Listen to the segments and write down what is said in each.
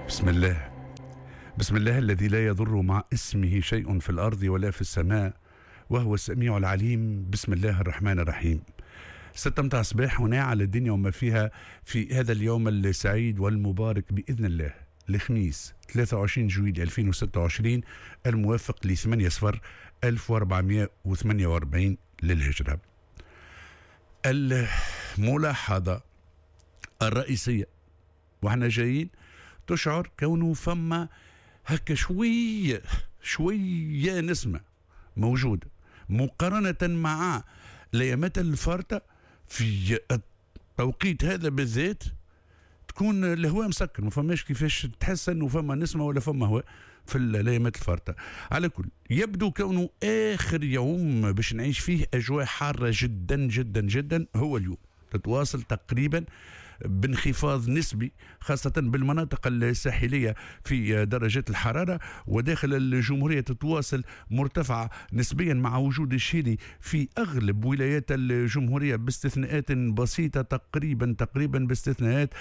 بسم الله، بسم الله الذي لا يضر مع اسمه شيء في الأرض ولا في السماء وهو السميع العليم. بسم الله الرحمن الرحيم. 6 متاع الصباح هنا على الدنيا وما فيها في هذا اليوم السعيد والمبارك بإذن الله، الخميس 23 جويلية 2026 الموافق ل 8 صفر 1448 للهجرة. الملاحظة الرئيسية واحنا جايين تشعر كونه فما هكا شوية شوية نسمة موجودة مقارنة مع ليامات الفارطة في التوقيت هذا بالذات، تكون الهواء مسكر، ما فماش كيفاش تحس انه فما نسمه ولا فما هواء في الايامات الفارطه. على كل يبدو كونه اخر يوم باش نعيش فيه اجواء حارة جدا جدا جدا هو اليوم، تتواصل تقريبا بانخفاض نسبي خاصة بالمناطق الساحلية في درجات الحرارة، وداخل الجمهورية تتواصل مرتفعة نسبيا مع وجود الشيلي في أغلب ولايات الجمهورية باستثناءات بسيطة، تقريبا باستثناءات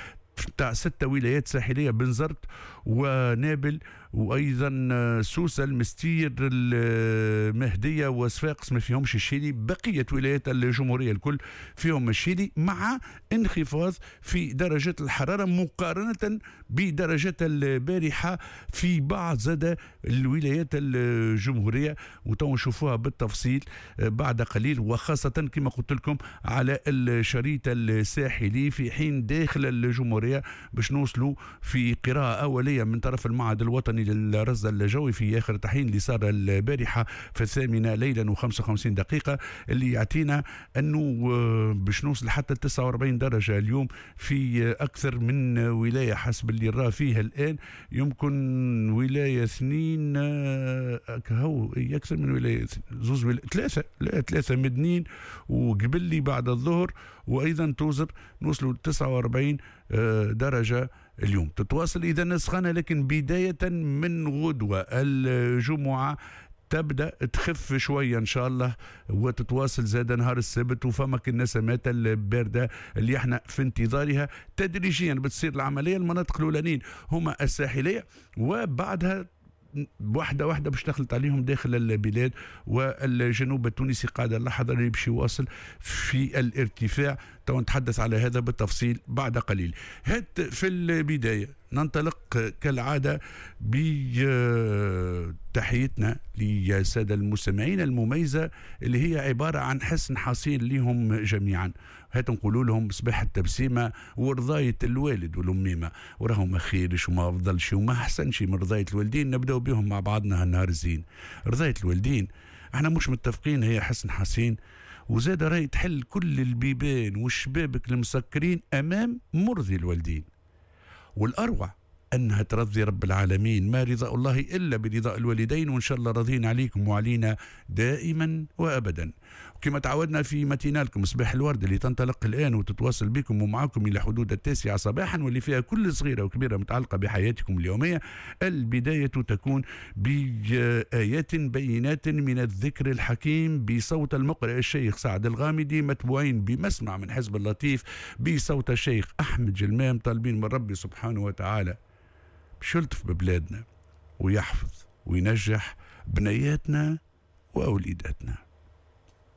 تاع 6 ولايات ساحلية، بنزرت ونابل وأيضا سوسة المستير المهدية وصفاقس ما فيهمش الشيلي. بقية ولايات الجمهورية الكل فيهم الشيلي، مع انخفاض في درجات الحرارة مقارنة بدرجات البارحة في بعض زاد الولايات الجمهورية، وتو نشوفوها بالتفصيل بعد قليل، وخاصة كما قلت لكم على الشريط الساحلي، في حين داخل الجمهورية باش نوصلوا في قراءة أولية من طرف المعهد الوطني للرصد الجوي في آخر تحيين اللي صار البارحة في 8 ليلا و55 دقيقة، اللي يعطينا أنه باش نوصل حتى 49 درجة اليوم في أكثر من ولاية حسب اللي راه فيها الآن، يمكن ولاية 2 هو أكثر من ولاية، زوز ولاية، 3، لا 3 مدنين وقبلي بعد الظهر، وأيضا توزر نوصلوا 49 درجة اليوم. تتواصل إذا السخانة، لكن بداية من غدوة الجمعة تبدأ تخف شوية إن شاء الله، وتتواصل زاد نهار السبت، وفما النسمات الباردة اللي احنا في انتظارها تدريجيا بتصير العملية. المناطق الأولانيين هما الساحلية، وبعدها واحدة واحدة باش تخلط عليهم داخل البلاد، والجنوب التونسي قاعد اللحظة اللي باش يواصل في الارتفاع. تو نتحدث على هذا بالتفصيل بعد قليل. هات في البداية ننطلق كالعادة بتحيتنا للسادة المستمعين المميزة اللي هي عبارة عن حسن حصين لهم جميعا. هات نقولوا لهم صباح التبسيمة ورضاية الوالد والأميمة، وراهم ما خيرش وما أفضلش وما أحسنش من رضاية الوالدين. نبدأ بهم مع بعضنا هالنهار الزين. رضاية الوالدين احنا مش متفقين هي حسن حصين، وزاد راهي تحل كل البيبان والشبابك المسكرين أمام مرضي الوالدين. والأروع أنها ترضي رب العالمين، ما رضاء الله إلا برضاء الوالدين، وإن شاء الله راضين عليكم وعلينا دائما وأبدا. وكما تعودنا في متينالكم صباح الورد اللي تنطلق الآن وتتواصل بكم ومعكم إلى حدود 9 صباحا، واللي فيها كل صغيرة وكبيرة متعلقة بحياتكم اليومية. البداية تكون بآيات بينات من الذكر الحكيم بصوت المقرئ الشيخ سعد الغامدي، متبوعين بمسمع من حزب اللطيف بصوت الشيخ أحمد جلمام، طالبين من ربي سبحانه وتعالى باش يلطف ببلادنا ويحفظ وينجح بنياتنا وأوليداتنا.